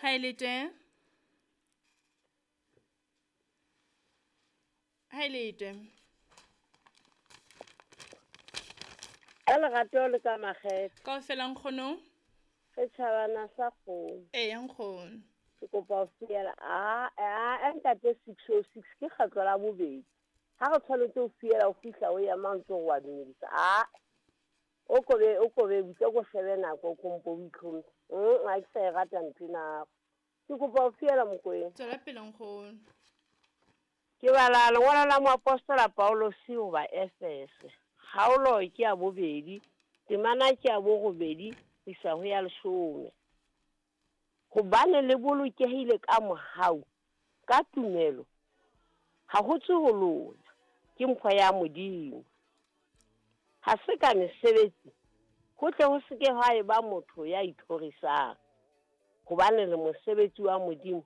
Ha e le teng. Ha e le teng. Ka lerato le ka makgethe. Kaofela nkgono. Setjhabana sa kgomo. Eya nkgono. Ke kopa ho fiela a a ntate 606 ke kgetlo la bobedi. Ha re tshwanetse ho fiela o fihla o ema ntse o wa dumedisa. A o kobe butse ko shebe nako o kompo o itlhomphe. Ha ke sa e rata ntho ena. Ke kopa ho fiela Mokoena. Tswela pele nkgono. Ke bala lengolo la moapostola Paulosi ho ba Efese. Kgaolo ke ya bobedi, temana ke ya borobedi ho isa ho ya 10. Hobane le bolokehile ka mohau, ka tumelo, ha ho tswe ho lona, ke mpho ya Modimo. Ha se ka mesebetsi, ho tle ho se ke ha eba motho ya ithorisang. Hobane le mosebetsi wa Modimo,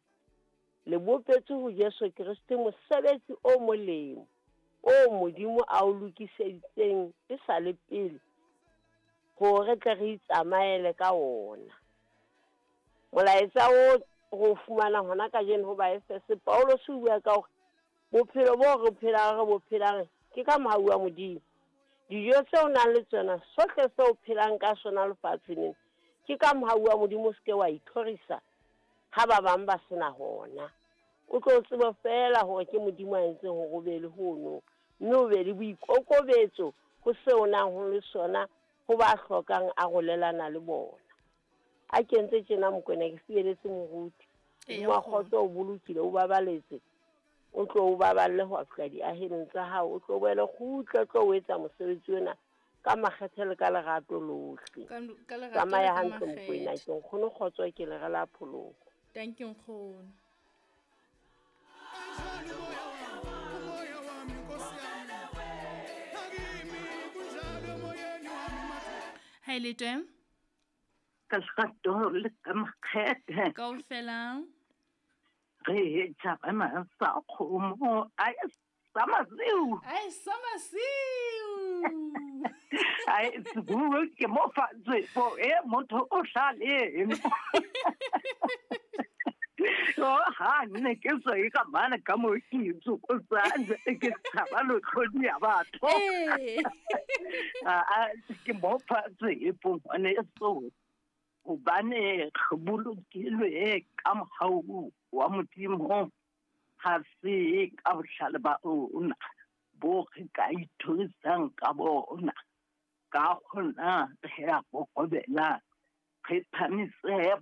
le bopetswe ho Jesu Kreste mosebetsi o molemo, o Modimo a o lokiseditseng e sa le pele, hore re tle re itsamaele ka wona. Molaetsa o re o fumana hona kajeno ho Baefese, Paulus o bua ka hore bophelo bo re phelang re bo phelang ke ka mohau wa Modimo. Dijo tseo o nang le tsona, sohle seo o phelang ka sona lefatsheng lena, ke ka mohau wa Modimo, o se ke wa ithorisa ha ba bang ba sena hona. O tlo tsebe feela hore ke Modimo a entseng hore o be le hono, mme o be le boikokobetso ho seo o nang ho le sona ho ba hlokang arolelana le bona. A kentse tjena Mokoena ke fieletse moruti. Modimo wa kgotso o bolokile, o babaletse. O tlo o baballe ho fihla diaheleng tsa hao, o tlo boele kgutle, o tlo o etsa mosebetsi ona ka makgethe le ka lerato lohle. Tsamaya hantle Mokoena, ke nkgono kgotso ke lere la pholoho. Thank you nkgono. Ha e le teng. Ka lerato le ka makgethe. Kaofela. Re tjhabana sa kgomo, ai sa masiu. Ai sa masiu. Ai bua ke mo fatshe po e motho o hlale. O ha ne ke so e ka mana ka mo ke itse ko tsantse ke tshaba lo tlhodi ya batho. A ke mo fatshe po ne so hobane re bolokilwe ka mohau wa Modimo, ha se ka bohlale ba rona bo re ka ithorisang ka bona. Ka hona re a kokobela, re phamise